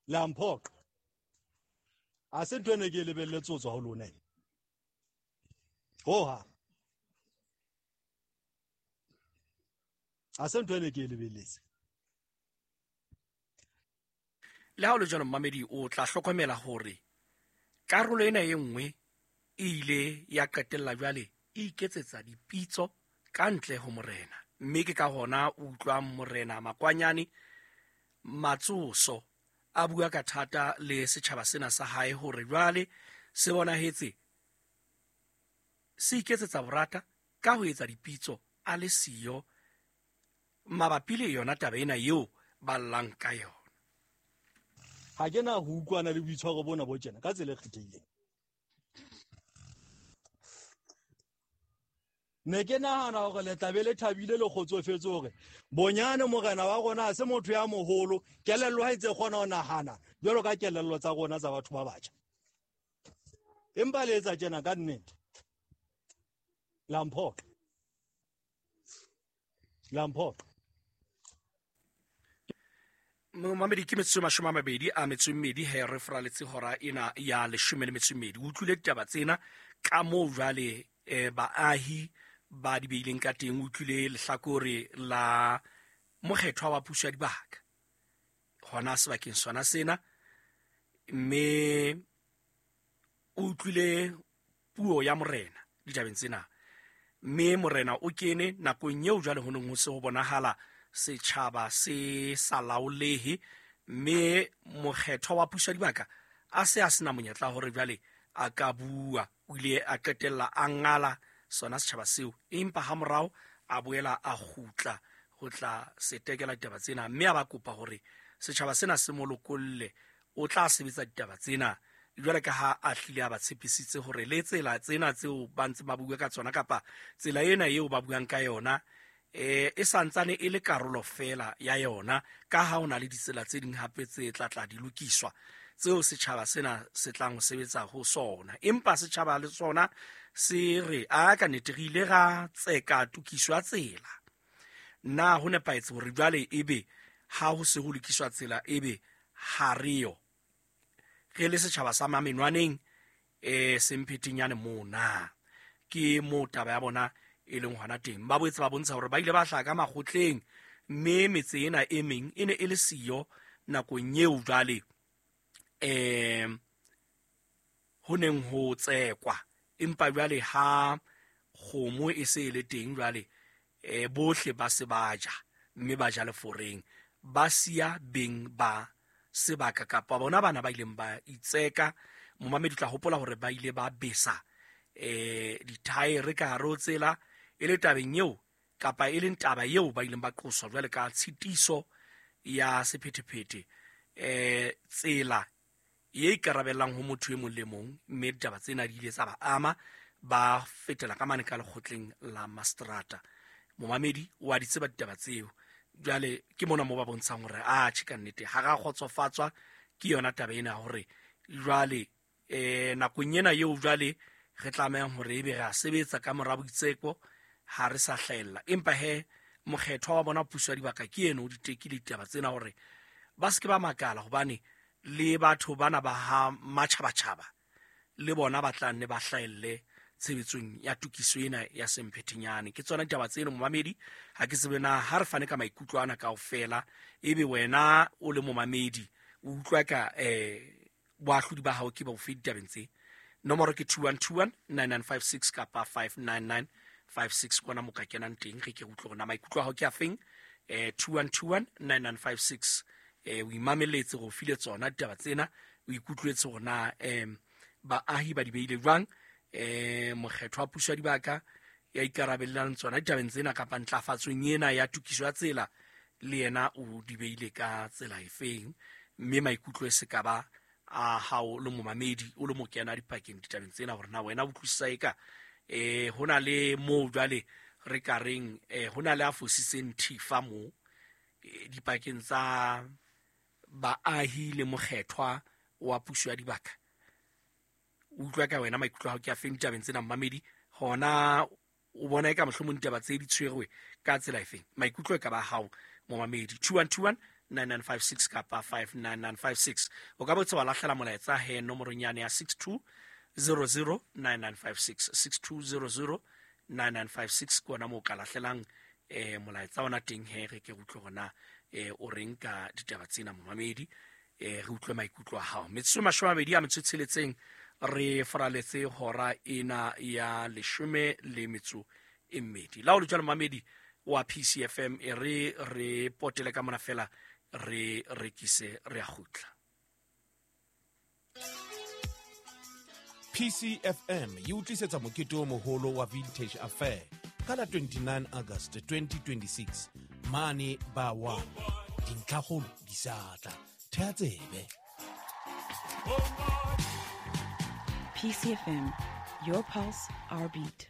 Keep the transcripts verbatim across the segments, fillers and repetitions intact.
Le a mphoqa. A se ntho ene ke e lebelletse ho tswa ho lona ena. Hoha. A se ntho ene ke e lebelletse. Le ha o le jwalo mmamedi, o tla hlokomela hore karolo ena e nngwe e ile ya qetella jwale e iketsetsa dipitso ka ntle ho morena, mme ke ka hona o utlwang morena Makwanyane Matsoso a bua ka thata le setjhaba sena sa hae hore jwale se bonahetse se iketsetsa borata ka ho etsa dipitso a le siyo mabapi le yona taba ena eo ba llang ka yona. Ha ke na ho utlwana le boitshwaro bona bo tjena ka tsela e kgethehileng. Ne ke nahana hore le tla be le thabile le kgotsofetse hore bonyane morena wa rona ha se motho ya moholo, kelello ha e ntse kgona ho nahana jwalo ka kelello tsa rona tsa batho ba batjha. Empa le etsa tjena ka nnete. La mphoqa. La mphoqa. Momamedi, ke metsotso e mashome a mabedi a metso e mmedi he re foraletse hora ena ya leshome le metso e mmedi. O utlwile ditaba tsena ka moo jwale eh, baahi ba di beileng ka teng. O utlwile lehlakore la mokgethwa wa puso ya dibaka hona sebakeng sona sena, mme o utlwile puo ya morena ditabeng tsena. Mme morena o kene nakong eo jwale ho neng ho se ho bonahala setjhaba se sa laolehe, mme mokgethwa wa puso ya dibaka a se a sena monyetla hore jwale a ka bua. O ile a qetella a ngala sona setjhaba seo, empa hamorao a boela a kgutla ho tla setekela ditaba tsena, mme a ba kopa hore setjhaba sena se mo lokolle, o tla sebetsa ditaba tsena jwale ka ha a hlile a ba tshepisitse hore le tsela tsena tseo ba ntse ba bua ka tsona kapa tsela ena eo ba buang ka yona eh e santsane e le karolo fela ya yona, ka ha ho na le ditsela tse ding hape tse tla tla di lokiswa tseo setjhaba sena se tlang ho sebetsa ho sona. Empa setjhaba le sona se re a ka nnete re ile ra tseka tokiso ya tsela. Na ho nepahetse hore jwale ebe ha ho se ho lokiswa tsela ebe ha re yo re le setjhaba sa Mamenwaneng eh Semphetenyane mona? Ke moo taba ya bona e leng hona teng. Ba boetse ba bontsha hore ba ile ba hlaha ka makgotleng, mme metse ena e meng e ne e le siyo nakong eo jwale eh ho neng ho tsekwa. Empa jwale ha kgomo e se e le teng jwale eh bohle ba se ba ja, mme ba ja leforeng, ba siya beng ba sebaka kapa bona bana ba ileng ba itseka. Momamedi tla hopola hore ba ile ba besa eh dithaere ka hare ho tsela e le tabeng eo kapa e leng taba eo ba ileng ba qoswa jwale ka tshitiso ya sephethephethe eh tsela e ikarabellang ho motho e mong le mong, mme ditaba tsena di ile tsa ba ama, ba fetela ka mane ka lekgotleng la mastrata. Momamedi wa di tseba ditaba tseo. Jwale ke mona moo ba bontshang hore a tjhe ka nnete ha ra kgotsofatswa ke yona taba ena hore jwale eh nakong ena eo jwale re tlamehang hore ebe re a sebetsa ka mora boitseko ha re sa hlahella. Empa he mokgethwa wa bona puso ya dibaka ke eno o di tekile ditaba tsena hore ba se ke ba makala, hobane le batho bana ba ha matjhabatjhaba le bona ba tla nne ba hlahelle tshebetsong ya tokiso ena ya Semphetenyane. Ke tsona ditaba tseno momamedi. Ha ke tsebe na ha re fane ka maikutlo ana kaofela, ebe wena o le momamedi o utlwa ka eh boahlodi ba hao ke ba bofe ditabeng tse? Nomoro ke two one two one nine nine five six kapa five nine nine five six kona mo ka kenang teng. Re ke utlwe hore na maikutlo a hao ke a feng. Eh two one two one nine nine five six eh o imameletse go file tsona ditaba tsena, o ikutlwetse hore na eh baahi ba di beile jwang, eh mokgetho wa puso ya dibaka ya ikarabellang tsona ditabeng tsena kapa ntlafatsong ena ya tokiso ya tsela le yena o di beile ka tsela efeng, mme maikutlo e se ka ba a hao le momamedi o le mo kena dipakeng ditabeng tsena hore na wena o utlwisisa eka eh ho na le moo jwale re ka reng eh ho na le a fositseng thifa moo dipakeng tsa baahi le mokgethwa wa puso ya dibaka. Utlwa ka wena maikutlo a hao ke a feng ditabeng tsena mmamedi, hona o bona eka mohlomong ditaba tse di tshwerwe ka tsela efeng? Maikutlo e ka ba hao momamedi. Two one two one nine nine five six kapa five nine nine five six. O ka botse wa lahlela molaetsa he nomorong yane ya six two zero zero nine nine five six, six two zero zero nine nine five six ke ona moo ka lahlelang eh molaetsa ona teng he re ke utlwe hona eh o reng ka ditaba tsena momamedi, eh re utlwe maikutlo a hao. Metsotso mashome a mabedi a metso e tsheletseng re faraletse hora ena ya leshome le metso e mmedi. La o le jwalo momamedi wa P C F M, e re re potele ka mona fela re rekise re a kgutla. P C F M e utlisetsa mokete o moholo wa Vintage Affair ka la twenty-nine August twenty twenty-six mane ba wa dintlhakgolo di sa tla. Thea tsebe. P C F M, your pulse, our beat.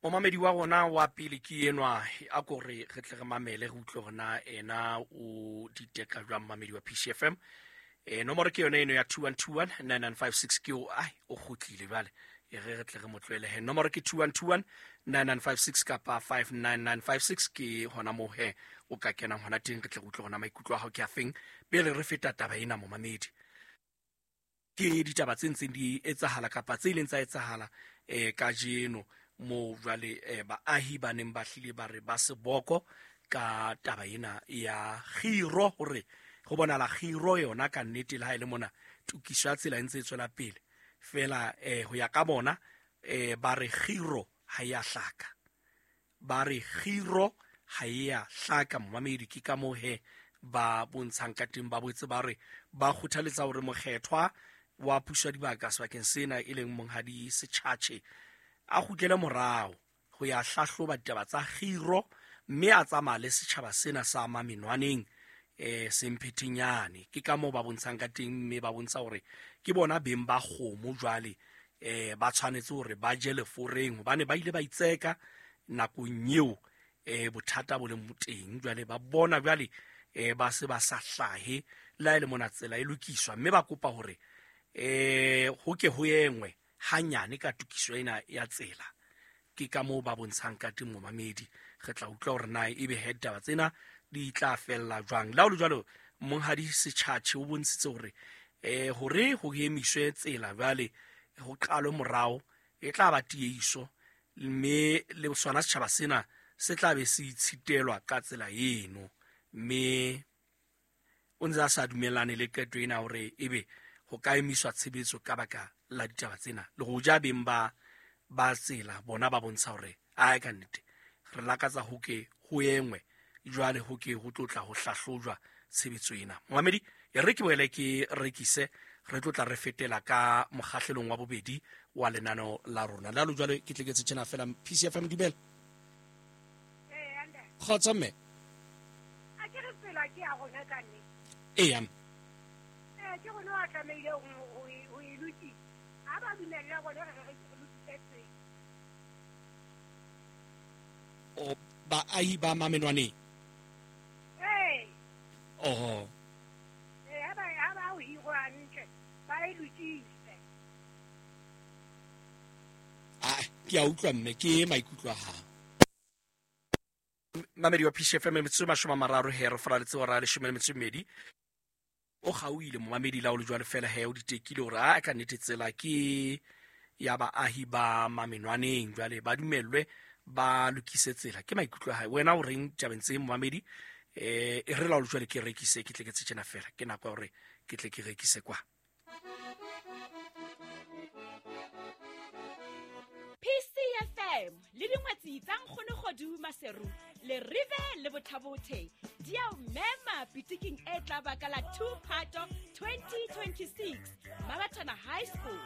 Momamedi wa rona wa pele ke enwa, a ko re re tle re mamele re utlwe hore na ena o diteka jwang momamedi wa P C F M. Eh nomoro ke yona eno ya two one two one nine nine five six ke o ai o kgutlile jwale, e re re tle re mo tlohele he. Nomoro ke two one two one nine nine five six kapa five nine nine five six ke hona moo he o ka kenang hona teng, re tle re utlwe hona maikutlo a hao ke a feng pele re feta taba ena momamedi. Ke ditaba tse ntseng di etsahala kapa tse ileng tsa etsahala eh kajeno mo jwale eh, baahi ba neng ba hlile ba re ba seboko ka taba ena ya kgiro, hore go bonala kgiro yona ka nnete le ha e le mona tokiso ya tsela e ntse e tswela pele fela eh ho ya ka bona eh ba re kgiro ha ya hlaka, ba re kgiro ha ya hlaka momamedi. Ke ka moo he ba bontshang ka teng, ba boetse ba re ba kgothaletsa hore mokgethwa wa puso ya dibaka sebakeng sena e leng monghadi Setjhatjhe a kgutlele morao ho ya hlahloba ditaba tsa kgiro, mme a tsamaya le setjhaba sena sa Mamenwaneng eh Semphetenyane. Ke ka moo ba bontshang ka teng, mme ba bontsha hore ke bona beng ba kgomo jwale eh ba tshwanetse hore ba je leforeng hobane ba ile ba itseka nakong eo eh bothata bo leng teng. Jwale ba bona jwale eh ba se ba sa hlahe la ile mona tsela e lokiswa, mme ba kopa hore eh ho ke ho engwe hanyane ka tokiso ena ya tsela. Ke ka moo ba bontshang ka teng momamedi. Re tla utlwa hore na ebe he ditaba tsena di tla fella jwang. La ho le jwalo monghadi Setjhatjhe o bontshitse hore eh hore ho emiswe tsela jwale ho qalwe morao e tla ba tieiso, mme le sona setjhaba sena se tla be se itshitelwa ka tsela eno. Mme o ntse a sa dumellane le qeto ena hore ebe ho ka emiswa tshebetso ka baka la ditaba tsena. Le ho ja beng ba ba tsela bona ba bontsha hore ae ka nnete re lakatsa ho ke ho engwe jwale ho ke ho tlotla ho hlahlojwa tshebetso ena. Momamedi, e re ke boele ke rekise, re tlotla re fetela ka mokgahlelong wa bobedi wa lenaneo la rona. La lo jwale ke tleketse tjena fela. P C F M dumela. Eh anda. Kgotsa mme. A ke re tsela ke ya rona ka nnete. Eya. Eh ke rona wa tlamehile ho ho e lokisa. Ha ba dumella rona re re lokise tsela. O baahi ba Mamenwaneng. Eh. Oho. Eh ha ba ha ba o hiro hantle ba e lokise. Ah, ke a utlwa mme, ke maikutlo a hao. Mamedi wa P C F M metsotso e mashome a mararo he re faraletse hora ya leshome le metso e mmedi. O kgaohile momamedi la o le jwale fela he o ditekile hore a ka nnete tsela ke ya baahi ba Mamenwaneng jwale ba dumellwe ba lokise tsela. Ke maikutlo a hae. Wena o reng tabeng tse momamedi? Eh e re la o le jwale ke rekise ke tle ke tjena fela. Ke nako ya hore ke tle ke rekise kwa. P C F M le dingwetsi tsa Nkgono Kgodu Maseru le Rive le Bothabothe di a o mema pitiking e tla ba ka la two Phato twenty twenty-six Mabathana High School.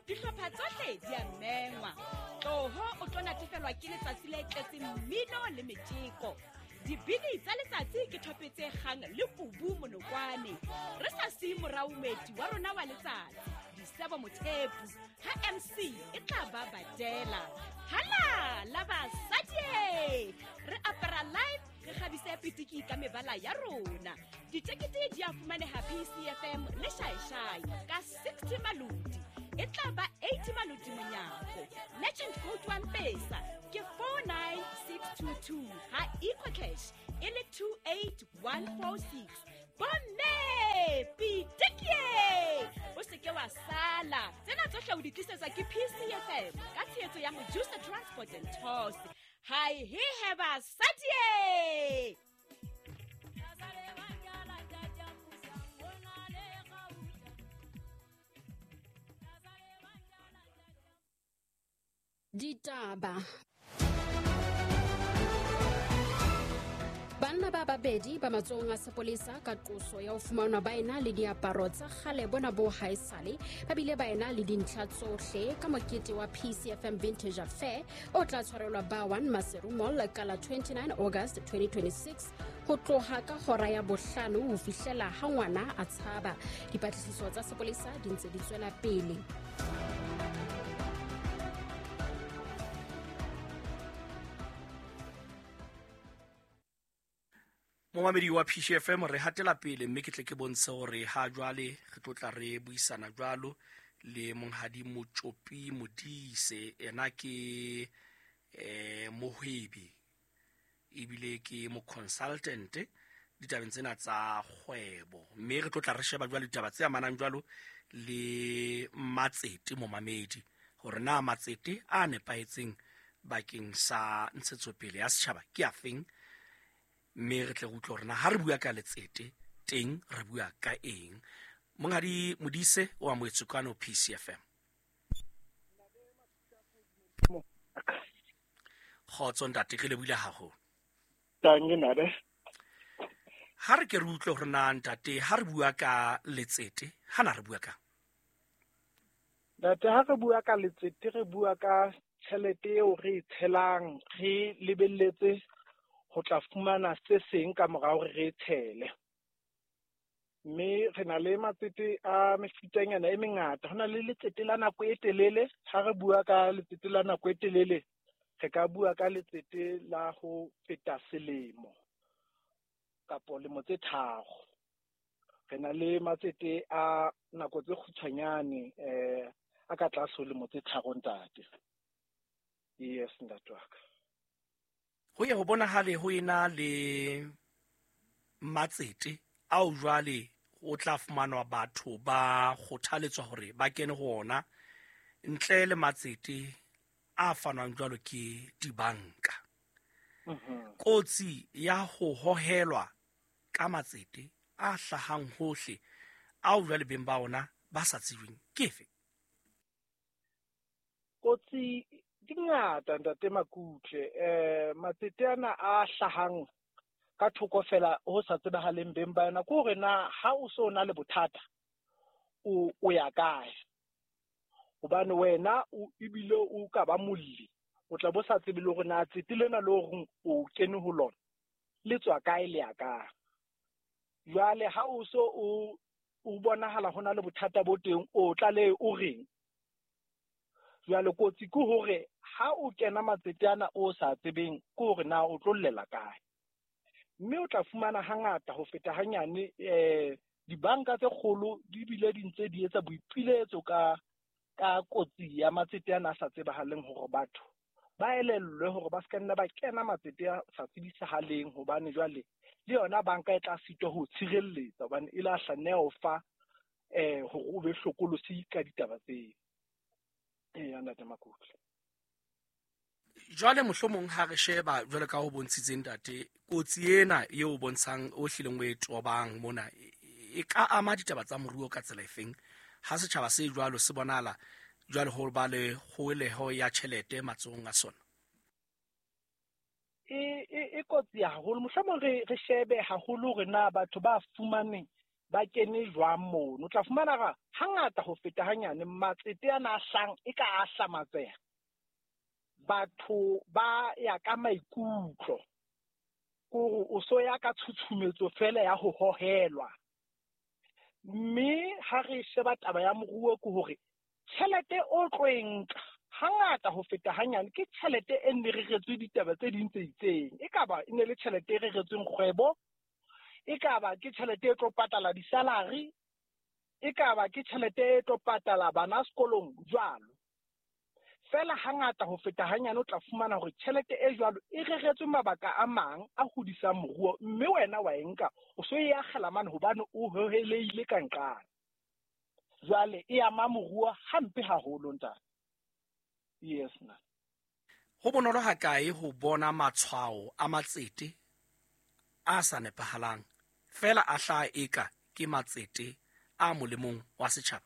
Dihlopha tsohle di a mengwa. Tloho o tlo natefelwa ke letsatsi le tletseng mmino le metjeko. Dibini tsa letsatsi ke thope tse kgang le kubu monokwane. Re sa siye morao moeti wa rona wa letsatsi Disebo Mothepu ha M C e tla ba badela. Hala la basadi, re apara live, re kgabise pitiki ka mebala ya rona. Ditekete di a fumaneha P C F M le Shaishai ka sixty malodi. E tla ba eighty maloti monyako. Legend Gold wa Mpesa ke four nine six two two ha EcoCash e le two eight one four six. Bomme pitikie o se ke wa sala. Tsena tsohle o di tlisetswa ke P C F M ka tshehetso ya Mojusa Transport and Tours. Hi he heba satie. Ditaba. Banna ba babedi ba matsohong a sepolesa ka qoso ya ho fumanwa ba ena le diaparo tsa kgale bona bo haesale ba bile ba ena le dintlha tsohle ka mokete wa P C F M Vintage Affair o tla tshwarelwa ba one Maseru Mall ka la twenty-nine August twenty twenty-six ho tloha ka hora ya bohlano ho fihlela ha ngwana a tshaba. Dipatlisiso tsa sepolesa di ntse di tswela pele. Momamedi wa P C F M re hatela pele mme ke tle ke bontshe hore ha jwale re tlo tla re buisana jwalo le monghadi Motjopi Modise. Ena ke eh mohwebi ebile ke mo consultant ditabeng tsena tsa kgwebo, mme re tlo tla re sheba jwalo ditaba tse amanang jwalo le matsete momamedi hore na matsete a nepahetseng bakeng sa ntshetsopele ya setjhaba ke afeng, mme re tle re utlwe hore na ha re bua ka letsete teng re bua ka eng. Monghadi Modise o amohetswe kwano P C F M. Kgotso ntate, re lebohile haholo. Tangi nade. Ha re ke re utlwe hore na ntate ha re bua ka letsete ha na re bua ka ntate, ha re bua ka letsete re bua ka tjhelete eo re e tshelang re lebelletse ho tla fumana se seng ka morao hore re tshele. Mme re na le matsete a mefutanyana e mengata. Ho na le letsete la nako e telele. Ha re bua ka letsete la nako e telele, re ka bua ka letsete la ho feta selemo kapo lemo tse tharo. Re na le matsete a nako tse kgutshwanyane eh a ka tlase ho lemo tse tharo ntate. Yes ntate wa ka. Ho ye ho bonahale ho ena le matsete ao jwale o tla fumanwa batho ba kgothaletswa hore ba kene ho ona ntle le matsete a fanwang jwalo ke dibanka. Kotsi ya ho hohelwa ka matsete a hlahang hohle ao jwale beng ba ona ba sa tsebeng ke efe? Kotsi di ngata ntate Makutle. Eh matsete ana a hlahang ka thoko fela ho sa tsebahaleng beng ba yona ke hore na ha o so na le bothata o o ya kae, hobane wena o ebile o ka ba molli o tla bo sa tsebe le hore na tsete lena le hore o kene ho lona le tswa kae le ya kae. Jwale ha o so o o bonahala ho na le bothata bo teng o tla le o reng. Jwale kotsi ke hore ha o kena matsete ana o sa tsebeng ke hore na o tlo llela kae, mme o tla fumana hangata ho feta hanyane eh dibanka tse kgolo di bile di ntse di etsa boipiletso ka ka kotsi ya matsete ana a sa tsebahaleng hore batho ba elellwe hore ba se ka nna ba kena matsete a sa tsebisahaleng, hobane jwale le yona banka e tla sitwa ho tshireletsa hobane e la hlanne ho fa eh hore o be hlokolosi ka ditaba tseo. Eh ntate Makutle. Jwale mohlomong ha re sheba jwale ka ho bontshitseng ntate kotsi ena eo bontshang o hlileng o e tobang mona e ka ama ditaba tsa moruo ka tsela efeng ha setjhaba se jwalo se bonala jwale ho ba le kgoeleho ya tjhelete matsohong a sona? E e e kotsi haholo. Mohlomong re re shebe haholo hore na batho ba fumaneng ba kene jwang mono. O tla fumana ra hangata ho feta hanyane matsete ana a hlang e ka a hlamatseha. Batho ba ya ka maikutlo kore o so ya ka tshutshumetso fela ya ho hohelwa. Mme ha re sheba taba ya moruo ke hore tjhelete o tlo e nka hangata ho feta hanyane ke tjhelete e nne reretswe ditaba tse ding tse itseng. E ka ba e ne le tjhelete e reretsweng kgwebo, e ka ba ke tjhelete e tlo patala di-salary, e ka ba ke tjhelete e tlo patala bana sekolong jwalo. Fela hangata ho feta hanyane o tla fumana hore tjhelete e jwalo e reretswe mabaka a mang a hodisang moruo, mme wena wa e nka o so e akgela mane hobane o hoheleile ka nqane. Jwale e ama moruo hampe haholo ntate. Yes na. Ho bonolo hakae ho bona matshwao a matsete a sa nepahalang fela a hlaha eka ke matsete a molemong wa setjhaba?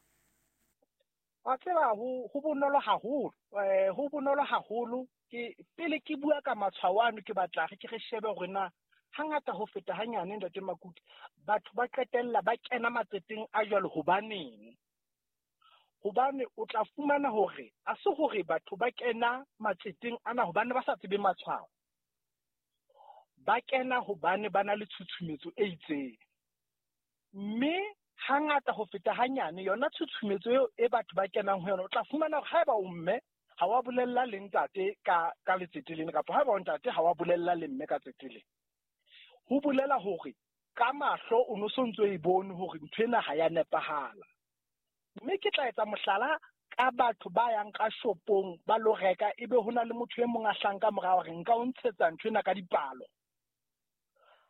Wa tseba ho ho bonolo haholo, eh ho bonolo haholo. Ke pele ke bua ka matshwao ano, ke batla re ke re shebe hore na hangata ho feta hanyane ntate Makuti batho ba qetella ba kena matseteng a jwalo hobaneng? Hobane o tla fumana hore a se hore batho ba kena matseteng ana hobane ba sa tsebe matshwao. Ba kena hobane ba na le tshutshumetso e itseng. Mme hangata ho feta hanyane yona tshutshumetso eo e batho ba kenang ho yona, o tla fumana hore haeba o mme ha wa bolella le ntate ka ka letsete lena, kapa haeba o ntate ha wa bolella le mme ka tsete lena, ho bolela hore ka mahlo o no so ntso e bone hore ntho ena ha ya nepahala. Mme ke tla etsa mohlala ka batho ba yang ka shopong ba lo reka, ebe ho na le motho e mong a hlang ka morao hore nka o ntshetsa ntho ena ka dipalo.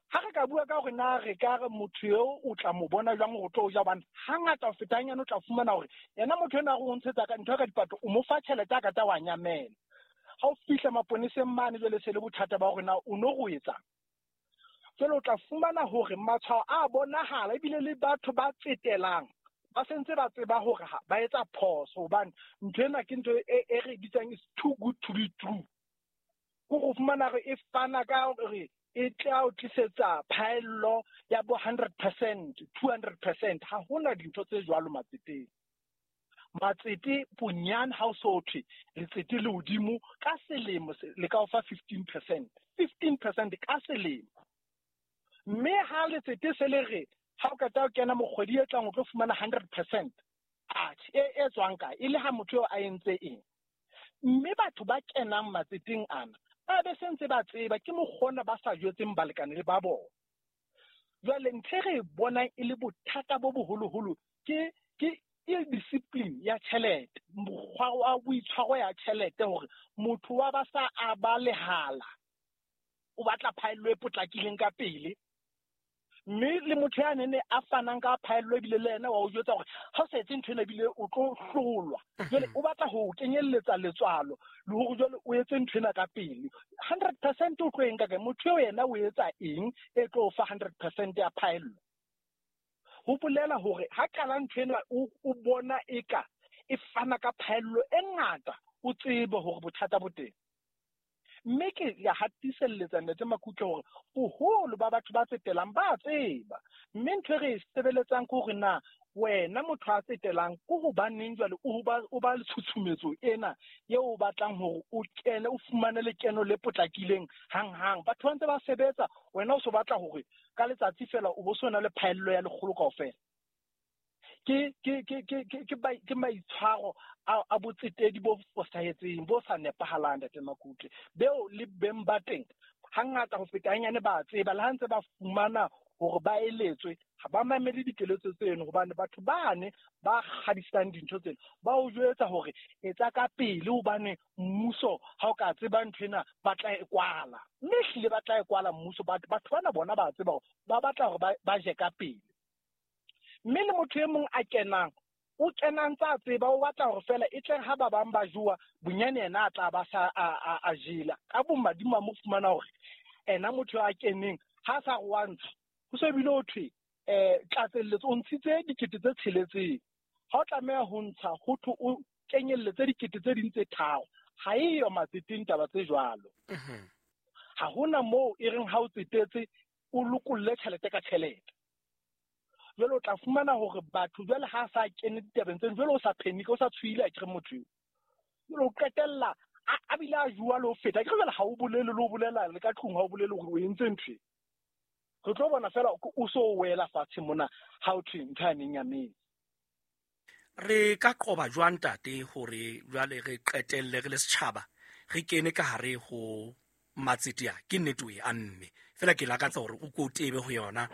Ha re ka bua ka hore na re ka re motho eo o tla mo bona jwang hore o tlo ja, hobane hangata ho feta hanyane o tla fumana hore yena motho ena a re o ntshetsa ka ntho ka dipato, o mo fa tjhelete a ka tla wa nyamela. Ha o fihla maponeseng mane jwale se le bothata ba hore na o no go etsang. Jwale o tla fumana hore matshwao a bonahala, ebile le batho ba tsetelang ba sentse ba tseba hore ba etsa phoso, hobane ntho ena ke ntho e e re bitsang is too good to be true. Ko go fumana re e fana ka hore e tla o tlisetsa phaello ya bo hundred percent, two hundred percent. Ha hona dintho tse jwalo matseteng. Matsete bonyane ha o so thwe letsete le hodimo ka selemo le ka o fa fifteen percent, fifteen percent ka selemo. Mme ha letsete se le re ha o qeta ho kena mokgwedi e tlang o tlo fumana hundred percent, atjhe e e tswang kae? E le ha motho eo a entse eng? Mme batho ba kenang matseteng ana ba be sentse ba tseba ke mokgona ba sa jwetseng balekane le ba bona. Jwale ntho e re bonang e le bothata bo boholoholo ke ke ill-discipline ya tjhelete, mokgwa wa boitshwaro ya tjhelete, hore motho wa ba sa a ba lehala, o batla phaello e potlakileng ka pele. Mme le motho ya nene a fanang ka phaello ebile le yena wa o jwetsa hore ha o sa etse ntho ena ebile o tlo hlolwa. Jwale o batla ho kenyelletsa letswalo le hore jwale o etse ntho ena ka pele. hundred percent o tlo e nka kae? Motho eo yena o etsa eng e tlo fa hundred percent ya phaello? Ho bolela hore ha qala ntho ena o o bona eka e fana ka phaello e ngata, o tsebe hore bothata bo teng. Mme ke ya hatiselletsa Ntate Makutle hore boholo ba batho ba tsetelang ba tseba. Mme ntho e re e sebeletsang ke hore na wena motho a tsetelang ke hobaneng jwale o ba o ba le tshutshumetso ena eo o batlang hore o kene o fumane lekeno le potlakileng hanghang. Batho ba ntse ba sebetsa, wena o so batla hore ka letsatsi fela o bo so na le phaello ya lekgolo kaofela. Ke ke ke ke ke ke ke maitshwaro a a botsetedi bo fosahetseng bo sa nepahalang Ntate Makutle, beo le beng ba teng hangata ho feta hanyane ba tseba, le ha ntse ba fumana hore ba eletswe ha ba mamele dikeletso tseno, hobane batho bane ba kgadisang dintho tseno ba o jwetsa hore etsa ka pele hobane mmuso ha o ka tseba ntho ena ba tla e kwala. Mme ehlile ba tla e kwala mmuso, batho bana bona ba tseba hore ba batla hore ba je ka pele. Mme le motho e mong a kenang o kena ntse a tseba, o batla hore fela e tle ha ba bang ba jowa bonyane yena a tla ba sa a a jela. Ka bommadimo a mo fumana hore ena motho a keneng ha sa re wa ntsha, ho so bile ho thwe eh tlatselletso o ntshitse dikete tse tsheletseng, ha o tlameha ho ntsha ho thwe o kenyelletse dikete tse ding tse tharo. Ha eyo matseteng taba tse jwalo. Ha hona moo e reng ha o tsetetse o lokolle tjhelete ka tjhelete. Jwale o tla fumana hore batho jwale ha sa kene ditabeng tseno, jwale o sa panic, o sa tshohile akere motho eo. Jwale o qetella a bile a jua le ho feta. Akere jwale ha o bolele le ho bolela le ka tlung, ha o bolele hore o entse ntho e. Re tlo bona fela o so wela fatshe mona ha o thwe ntho ya neng ya metsi. Re ka qoba jwang ntate hore jwale re qetelle re le setjhaba re kene ka hare ho matsete a? Ke nnete o e amme fela ke lakatsa hore o ko tebe ho yona.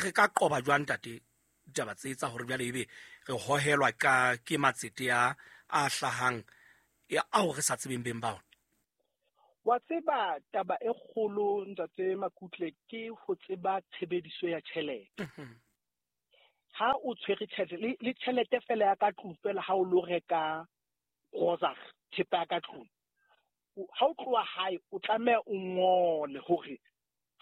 Re ka qoba jwang ntate ditaba tse tsa hore jwale ebe re hohelwa ka ke matsete a a hlahang ao re sa tsebeng beng ba ona? Wa tseba taba e kgolo ntate Makutle ke ho tseba tshebediso ya tjhelete. Ha o tshwere tjhelete le tjhelete fela ya ka tlung fela ha o lo reka grocery thepa ya ka tlung, ha o tloha hae o tlameha o ngole hore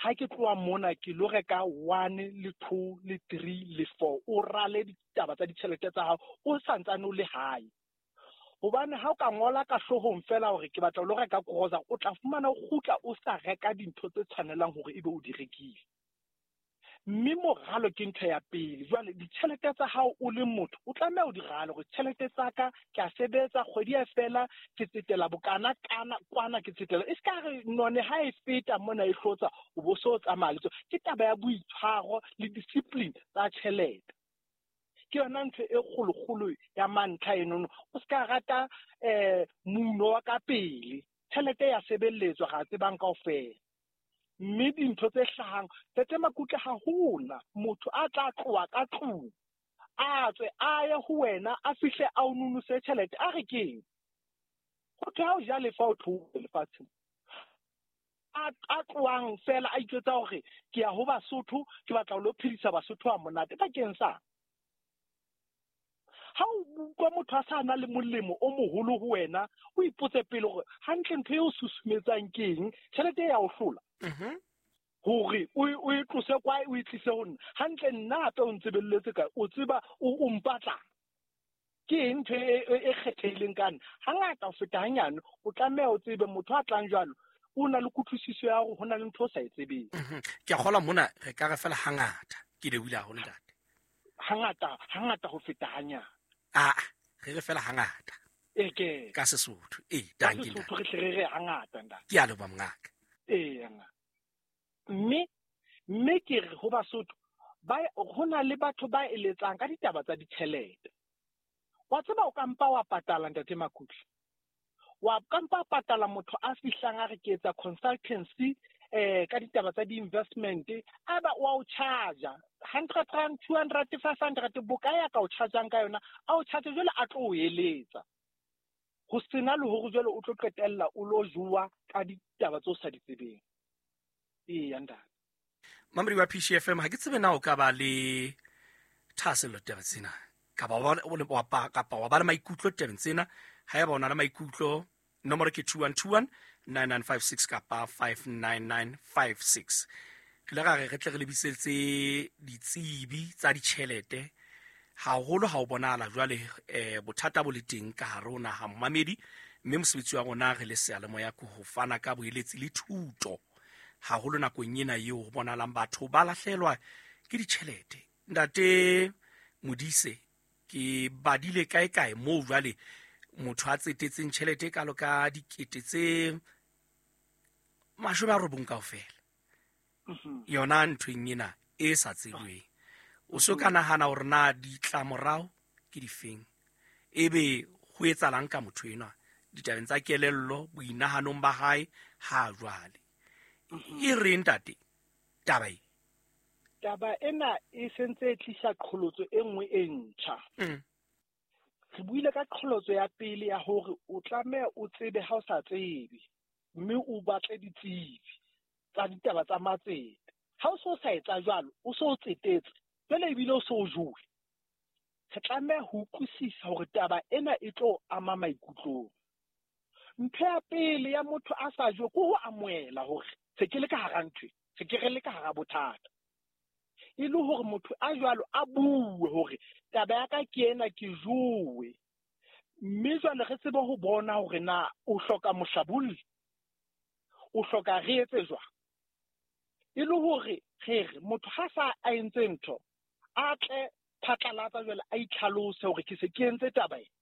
ha ke tloha mona ke lo reka one le two le three le four, o rale ditaba tsa ditjhelete tsa hao o santsane o le hae. Hobane ha o ka ngola ka hloohong fela hore ke batla ho lo reka grocery, o tla fumana o kgutla o sa reka dintho tse tshwanelang hore ebe o di rekile. Mme moralo ke ntho ya pele. Jwale ditjhelete tsa hao o le motho o tlameha o di rale hore tjhelete tsa ka ke a sebetsa kgwedi ya fela ke tsetela bokana kana kwana ke tsetela, e ska re none ha e feta mona e hlotsa o bo so tsamaya le tsona. Ke taba ya boitshwaro le discipline tsa tjhelete, ke yona ntho e kgolokgolo ya mantlha enono. O ska rata eh muno wa ka pele, tjhelete ya sebeletswa ga tsebang kaofela. Mme dintho tse hlahang Ntate Makutle ha hona motho a tla tloha ka tlung a tswe a ye ho wena a fihle a o nunuse tjhelete a re keng ho thwe ha o ja lefa o tlohe lefatsheng. A tlohang fela a itjwetsa hore ke ya ho Basotho, ke batla ho lo phedisa Basotho a monate bakeng sa ha o utlwa motho a sa na le molemo o moholo ho wena, o ipotse pele hore hantle ntho eo susumetsang ke eng, tjhelete ya o hlola hore o e tlose kwae o e tlise ho nna. Hantle nna hape o ntsebelletse kae, o tseba o mpatla ke eng ntho e kgethehileng ka nna. Hangata ho feta hanyane o tlameha o tsebe motho a tlang jwalo o na le kutlwisiso ya hore ho na le ntho o sa e tsebeng. Ke a kgolwa mona re ka re fela hangata ke lebohile haholo ntate. Hangata hangata ho feta hanyane. Ah, re re fela hangata. E ke ka Sesotho. E danki ntate. Sesotho re tle re re hangata ntate. Ke a leboha mongaka. E ngaka. Mme mme ke re ho Basotho ba ho na le batho ba eletsang ka ditaba tsa ditjhelete. Wa tseba o ka mpa wa patala ntate Makutle. Wa ka mpa patala motho a fihlang a re ke etsa consultancy eh ka ditaba tsa di-investment, a ba wa o charge hundred rand, two hundred, five hundred boka ya ka o chargeang ka yona, a o charge jwale a tlo o eletsa. Ho sena le hore jwale o tlo qetella o lo jowa ka ditaba tse o sa di tsebeng. Ee ntate. Mamedi wa P C F M, ha ke tsebe na o ka ba le thahasello taba tsena kapa wa kapa wa ba le maikutlo tabeng tsena. Haeba o na le maikutlo, nomoro ke two one two one nine nine five six kapa five nine nine five six. Re ile ra re re tle re lebisetse ditsebi tsa ditjhelete haholo ha o bonahala jwale eh bothata bo le teng ka hare ho naha mmamedi, mme mosebetsi wa rona re le seyalemoya ke ho fana ka boeletsi le thuto haholo nakong ena eo ho bonahalang batho ba lahlelwa ke ditjhelete. Ntate Modise, ke badile kae kae moo jwale motho a tsetetseng tjhelete e kalo ka dikete tse mashome a robong kaofela yona nthweng ena e sa tsebweng. O so ka nahana hore na ditlamorao ke difeng, ebe ho etsahalang ka motho enwa ditabeng tsa kelello boinahanong ba hae ha jwale. E reng ntate taba e? Taba ena e sentse e tlisa qholotso e nngwe e ntjha. Re buile ka qholotso ya pele ya hore o tlameha o tsebe ha o sa tsebe, mme o batle ditsebi tsa ditaba tsa matsete. Ha o so sa etsa jwalo, o so tsetetse jwale ebile o so jowe. Re tlameha ho utlwisisa hore taba ena e tlo ama maikutlong. Ntho ya pele ya motho a sa jowe ke ho amohela hore se ke le ka hara ntho, se ke re le ka hara bothata. E le hore motho a jwalo a bue hore taba ya ka ke ena, ke jowe. Mme jwale re tsebe ho bona hore na o hloka mohlabolli, o hloka re etse jwang. E le hore re re motho ha sa a entse ntho, a tle phatlalatsa jwale a itlhalose hore ke se ke entse taba ena.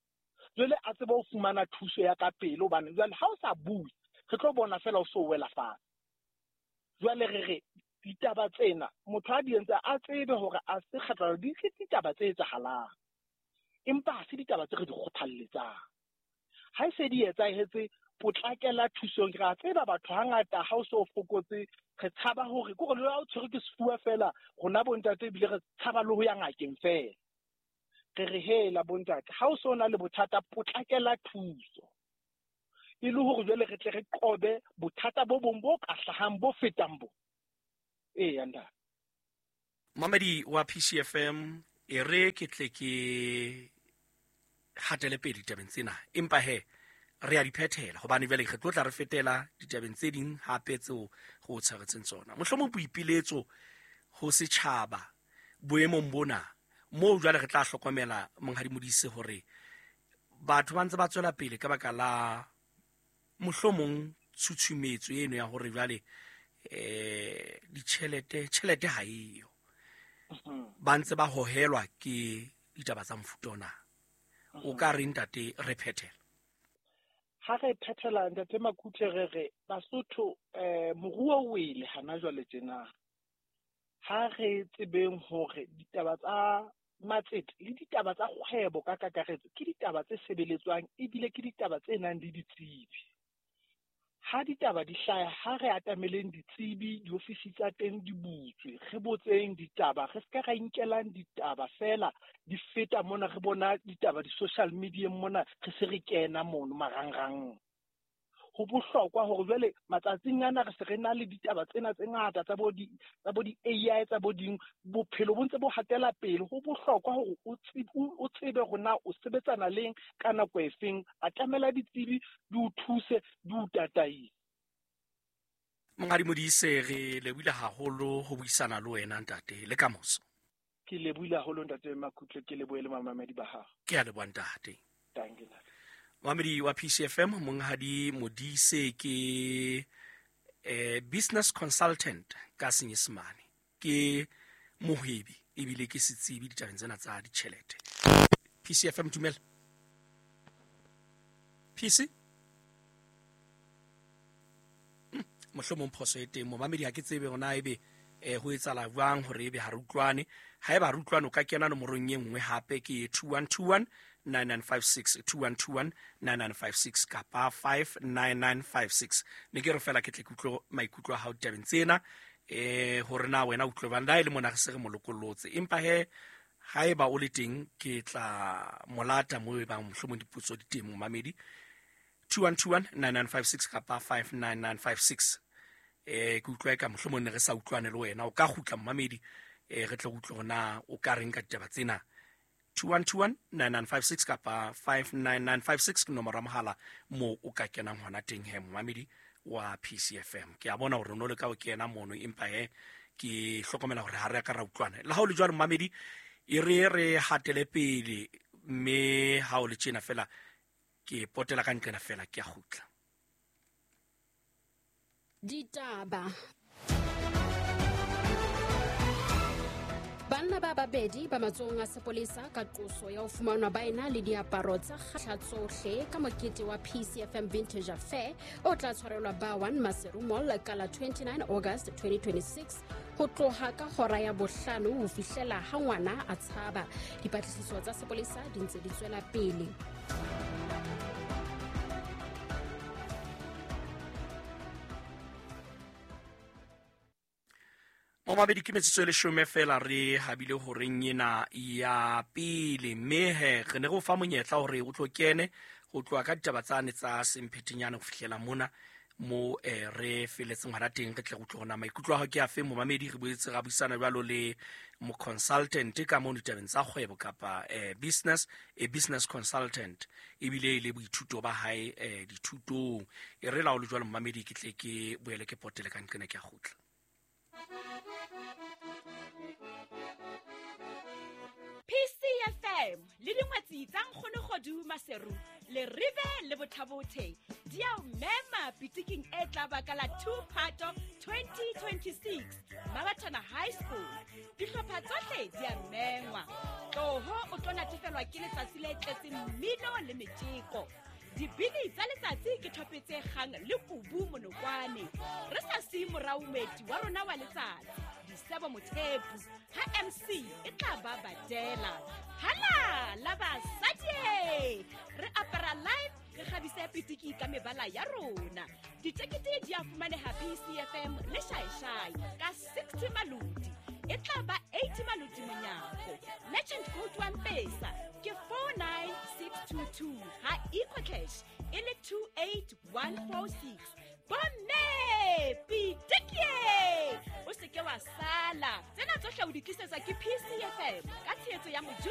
Jwale a tsebe ho fumana thuso ya ka pele, hobane jwale ha o sa bue re tlo bona fela o so wela fatshe. Jwale re re ditaba tsena motho a di entse a tsebe hore a se kgatlalo di ke ditaba tse etsahalang, empa ha se ditaba tse re di kgothalletsang. Ha e se di etsahetse, Potlakela thusong. Re a tseba batho hangata ha o so fokotse re tshaba hore ke gore le ha o tshwere ke sefuba fela rona bontate ebile re tshaba le ho ya ngakeng fela. Re re hela bontate ha o so na le bothata potlakela thuso e le hore jwale re tle re qobe bothata bo bong bo ka hlahang bo fetang bo. Eya ntate. Mamedi wa P C F M e re ke tle ke hatele pele ditabeng tsena, empa he re a di phethela hobane jwale re tlo tla re fetela ditabeng tse ding hape tseo go tshwaretseng tsona. Mohlomong boipiletso ho setjhaba boemong bona moo jwale re tla hlokomela Monghadi Modise hore batho ba ntse ba tswela pele ka baka la mohlomong tshutshumetso eno ya hore jwale eh ditjhelete tjhelete ha eyo, ba ntse ba hohelwa ke ditaba tsa mofuta ona. O ka re ntate re phethela? Ha re phethela ntate Makutle re re Basotho eh moruo o wele hana jwale tjena. Ha re tsebeng hore ditaba tsa matsete le ditaba tsa kgwebo ka kakaretso ke ditaba tse sebeletswang ebile ke ditaba tse nang le ditsebi. Ha ditaba di hlaya ha re atameleng ditsebi, diofisi tsa teng di butswe, re botseng ditaba, re ska ra inkelang ditaba fela di feta mona, re bona ditaba di-social media mona re se re kena mono marangrang. Ho bohlokwa hore jwale matsatsing ana re se re na le ditaba tsena tse ngata tsa bo di tsa bo di A I tsa bo ding, bophelo bo ntse bo hatela pele. Ho bohlokwa hore o o tsebe hore na o sebetsana leng ka nako efeng, atamela ditsebi di o thuse di o tataise. Monghadi Modise, re lebohile haholo ho buisana le wena ntate le kamoso. Ke lebohile haholo ntate Makutle, ke lebohele mamamedi ba hao. Ke a leboha ntate. Thank you. Mamedi wa P C F M, Monghadi Modise ke eh, business consultant ka Senyesemane, ke mohwebi ebile ke setsebi ditabeng tsena tsa ditjhelete. P C F M, dumela. P C? Hmm, mohlomong phoso e teng momamedi, ha ke tsebe hore ebe eh ho etsahala jwang hore ebe ha re utlwane. Haeba re utlwane o ka kena nomorong e nngwe hape ke two one two one nine nine five six, two one two one nine nine five six kapa five nine nine five six. Ne ke re fela ke tle ke utlwe maikutlo a hao ditabeng tsena eh hore na wena utlwe bang la e le mona re se re mo lokollotse, empa he haeba o le teng ke tla molata mo e bang mohlomong dipotso di teng momamedi. Two one two one nine nine five six kapa five nine nine five six. Eh ke utlwa ka mohlomong ne re sa utlwane le wena, o ka kgutla momamedi eh re tle utlwe hore na o ka reng ka ditaba tsena. Two one two one nine nine five six kapa five nine nine five six ke nomoro ya mohala mo o ka kenang hona teng he momamedi wa P C F M. Ke a bona hore no le ka o kena mono, empa he ke hlokomela hore ha re ka ra utlwana. Le ha o le jwalo momamedi, e re re hatele pele mme ha o le tjena fela ke potela ka nqena fela ke a kgutla. Ditaba. Banna ba babedi ba matsohong a sepolesa ka qoso ya ho fumanwa ba ena le diaparo tsa kgahla tsohle ka mokete wa P C F M Vintage Affair o tla tshwarelwa ba one Maseru Mall ka la twenty-nine August twenty twenty-six ho tloha ka hora ya bohlano ho fihlela ha ngwana a tshaba. Dipatlisiso tsa sepolesa di ntse di tswela pele. Momamedi, ke metsotso e leshome fela re habile horeng ena ya pele, mme he re ne re o fa monyetla hore o tlo kene ho tloha ka ditaba tsane tsa semphetenyane ho fihlela mona mo eh, re feletseng hona teng. Re tle re utlwe hore na maikutlo a hao ke afe momamedi. Re boetse ra buisana jwalo le mo consultant ka mono ditabeng tsa kgwebo kapa eh, business, a business consultant ebile e le boithuto ba hae eh, dithutong. E re la o le jwalo momamedi, ke tle ke boele ke potele ka nqena ke a kgutla. P C F M le dingwetsi tsa Nkgono Kgodu Maseru le Rive le Bothabothe di a o mema pitiking e tla ba ka la two Phato twenty twenty-six Mabathana High School. Dihlopha tsohle di a mengwa. Tloho o tlo natefelwa ke letsatsi le tletseng mmino le metjeko. Dibini tsa letsatsi ke thope tse kgang le kubu monokwane. Re sa siye morao moeti wa rona wa letsatsi, Disebo Mothepu, ha M C e tla ba badela. Hala la basadi! Re apara live, re kgabise pitiki ka mebala ya rona. Ditekete di a fumaneha P C F M le Shaishai ka sixty maloti. E tla ba eighty maloti monyako. Merchant code wa M-Pesa ke four nine six two two ha EcoCash e le two eight one four six. Bomme pitiki, o se ke wa sala. Tsena tsohle o di tlisetsa ke P C F M ka tshehetso ya Mojusi.